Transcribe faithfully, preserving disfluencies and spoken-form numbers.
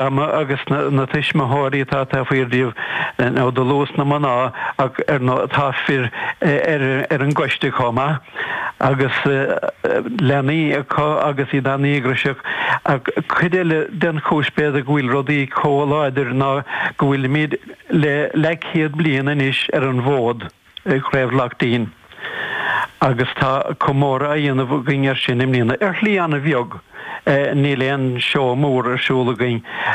Ama agus na, na tuismitheoirí atá tá faoi díobh nó do luas na mná ach ar nó tá fir ar, ar an gcoiste chomh maith agus leanaí acu agus iad an-díograiseach ach cuid eile den chúis b'fhéidir go bhfuil rudaí chomh láidir ná go bhfuilimid le leathchéad bliain anois ar an bhfód Craobh Laichtín. Agus tá comóradh á dhéanamh againn ar sin i mbliana ar shlí an-bheag. Níl aon seó mór ar siúl againn.